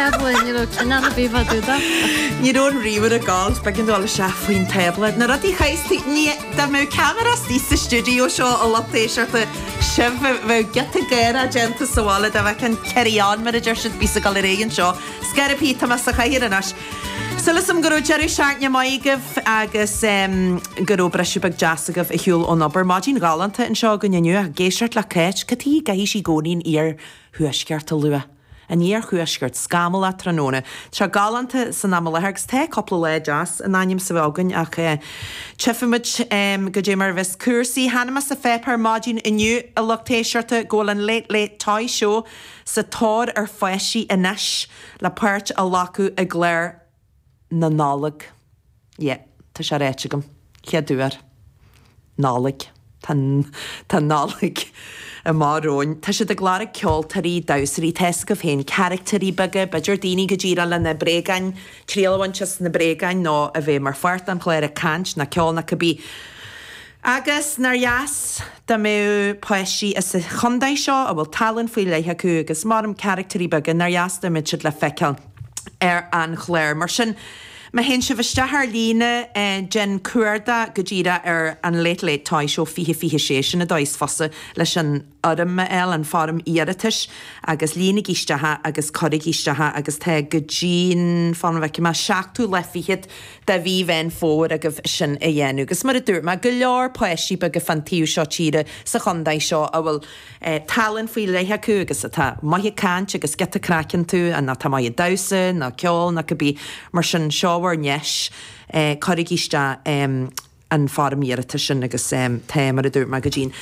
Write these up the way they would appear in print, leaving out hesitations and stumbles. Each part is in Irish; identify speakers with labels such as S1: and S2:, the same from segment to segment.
S1: Tábla, ní raibh cineál ar bith fá dtaobh de.
S2: Ní raibh an ríomhaire ag gabháil, b'éigean dul isteach faoin tábla. Na rudaí a chaithfeas tú, ní, dá mbeadh ceamara istigh sa stiúideo seo a lucht éisteachta, sibh, bheadh giota gáire déanta sa bhaile dá bhfeicfeá an carry on mar a deir siad, bíos ag dul ar aghaidh anseo. Scor ar bith, tá mé sa chathaoir anois. Súil agam go raibh deireadh seachtaine maith agaibh agus go raibh briseadh beag deas agaibh ar shiúl ón obair. Maidin ghalánta anseo againn inniu ach ag éisteacht le Cáit, cad chuige a gcaithfidh sí i gcónaí an iarthuaisceart a lua? An iarthuaisceart, scamallach tráthnóna. Tá sé galánta san am i láthair agus tá cúpla lá deas in ainm is a bheith againn ach tchífimid goidé mar a bheas cúrsaí. Chonaic mé sa pháipéar maidin inniu, a lucht éisteachta, go bhfuil an Late Late Toy Show sa tóir ar pháistí anois le páirt a ghlacadh i gclár na Nollag. Yeah, tá sé ráite agam. Chéad uair. Nollaig. Tá, tá Nollaig amach romhainn. Tá siad ag lorg ceoltóirí, damhsóirí, tá fhios agaibh féin, caractéirí beaga, b'fhéidir daoine go díreach le na bréagáin, triail a bhaint as na bréagáin nó a bheith mar pháirt den chlár ag caint nó ceol nó cibé. Agus nár dheas dá mbeadh páistí as an chontae seo a bhfuil tallann faoi leith acu agus mar caractéirí beaga, nár dheas dá mbeadh siad le feiceáil ar an chlár. Mar sin, má théann sibh isteach ar líne, déan cuardach go díreach ar an Late Late Toy Show 2026, sin an dóigh is fusa leis an fhoirm a fháil, an foirm iarratais, agus líonaigí isteach é agus cuirigí isteach é agus tá go dtí'n, fan go bhfeicfidh mé, seachtú lá fichead de mhí Mheán Fómhair agaibh sin a dhéanamh. Agus mar a dúirt mé, go leor páistí beaga fán taobh seo tíre sa chontae seo a bhfuil tallann faoi leith acu agus atá maith ag caint agus giota craic iontu nó atá maith ag damhsa nó ceol nó cibé. Mar sin, seo bhur ndeis, cuirigí isteach an foirm iarratais sin agus tá, mar a dúirt mé, go dtí'n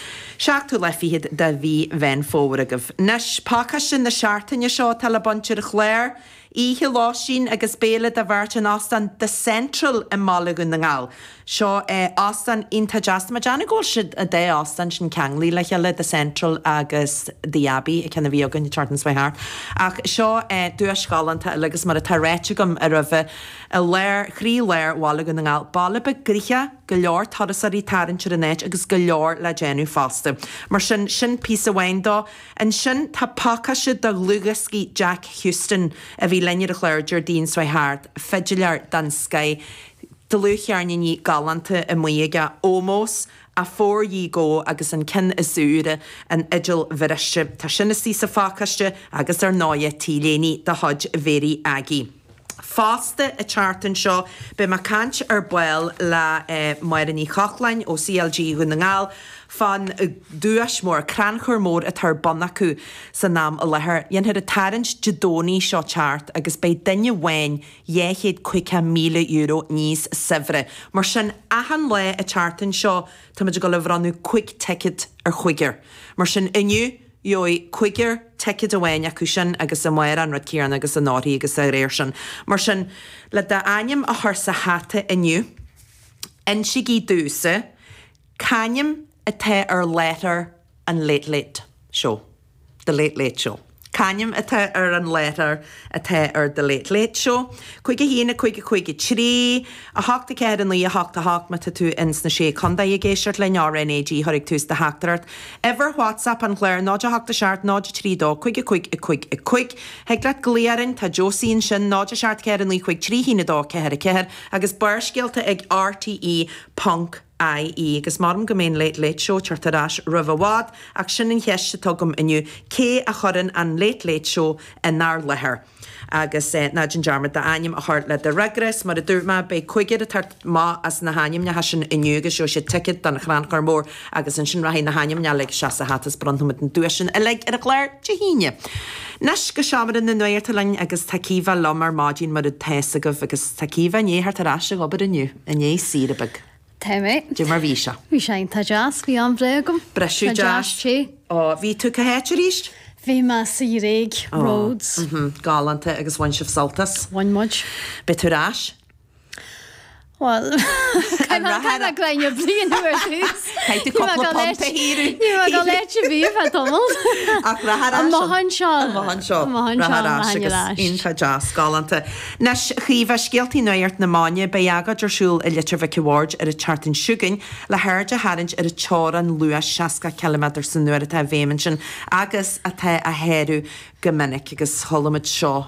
S2: seachtú lá fichead de mhí Mheán Fómhair agaibh. Anois, pacáiste na seachtaine seo atá le baint ar an chlár. Oíche lóistín agus béile do bheirt in Óstán The Central i mBaile Dhún na nGall. Seo óstán iontach deas. Tá mé ag déanamh go bhfuil siad, an dá óstán sin ceanglaithe le chéile, The Central agus The Abbey, an ceann a bhí againn an tseachtain seo thart. Ach seo duais ghalánta eile agus mar atá ráite agam roimhe, i lár, chroí lár Bhaile Dhún na nGall, baile beag gnoitheach, go leor turasóirí ag tarraingt ar an áit agus go leor le déanamh fosta. Mar sin, sin píosa amháin dó. Ansin tá pacáiste de dhlúthdhioscaí Jack Huston, a bhí linn ar an chlár Déardaoin seo thart, fidiléir den scoith, dlúthcheirníní galánta amuigh aige, Ómós, Afore Ye Go agus an ceann is úire, An Fhidil Bhriste. Tá sin istigh sa phacáiste agus ar ndóighe T-léine de chuid Mhéirí Aggie. Fosta an tseachtain seo beidh mé ag caint ar ball le Máire Ní Chochláin ó CLG Dhún na nGall fán duais mór, crannchur mór atá ar bun acu san am i láthair. Dhéanfar an tarraingt Dé Domhnaigh seo teacht agus beidh duine amháin €250,000 níos saibhre. Mar sin achan lá an tseachtain seo táimid ag dul a bhronnadh 5 ticket ar chúigear. Mar sin inniu Gheobhaidh cúigear ticéad amháin acu sin agus amárach an rud céanna agus anóirthear agus dá réir sin. Mar sin, le d'ainm a chur sa hata inniu, insígí domhsa c'ainm atá ar láithreoir an Late Late Show, The Late Late Show. C'ainm atá ar an láithreoir atá ar The Late Late Show? 5 1 5 5 3 8 4 9 8 8 Má tá tú ins na Sé Contae ag éisteacht linn, RnaG, cuir ag tús do theachtaireacht. Uimhir WhatsApp an chláir, 0 8 7 0 3 2 5 5 5 5. Thig leat glaoch orainn, tá Josie ansin, 0 7 4 9 5 3 1 2 4 4 agus Barrscéalta ag RTÉ ponc IE. Agus measaim go mbeidh an Late Late Show ag teacht ar ais roimh i bhfad, ach sin an cheist atá agam inniu, cé a chuireann an Late Late Show inár láthair? Agus ná déan dearmad d'ainm a chur le do fhreagra. Is mar a dúirt mé, beidh cúigear ag teacht amach as na hainmneacha sin inniu agus gheobhaidh siad ticéad don chrannchur mór agus ansin rachaidh na hainmneacha uilig isteach sa hata is bronnfaimid na duaiseanna uilig ar an chlár Dé hAoine. Anois go seomra na nuachta linn agus tá Caoimhe liom ar maidin mar atá fhios agaibh agus tá Caoimhe i ndiaidh theacht ar ais ag obair inniu, i ndiaidh saoire beag.
S1: Tá mé.
S2: Dé mar bhí sé?
S1: Bhí sé iontach deas, bhí am breá agam.
S2: Briseadh deas.
S1: Sé.
S2: Ó, bhí tú cá háit arís?
S1: Bhí mé sa Ghréig, Rhodes.
S2: Ó, galánta agus bhain sibh sult as?
S1: Bhain muid.
S2: Beidh tú ar ais?
S1: Bhuel, caithfidh mé gráinne bliain ar dtús.
S2: Caithfidh tú cúpla punt a shaothrú.
S1: Ní raibh go leit a bhí fá tamall.
S2: Ach rachaidh ar ais.
S1: Amach anseo.
S2: Amach anseo.
S1: Amach anseo.
S2: Rachaidh ar ais agus iontach deas, galánta. Anois, a Chaoimhe, scéaltaí nuacht na maidine, beidh agóid ar siúl i Leitir Mhic a' Bhaird ar an tseachtain seo chugainn le haird a tharraingt ar an teorainn luais 60 ciliméadar san uair atá i bhfeidhm ansin agus atá á shárú go minic agus chuala muid seo.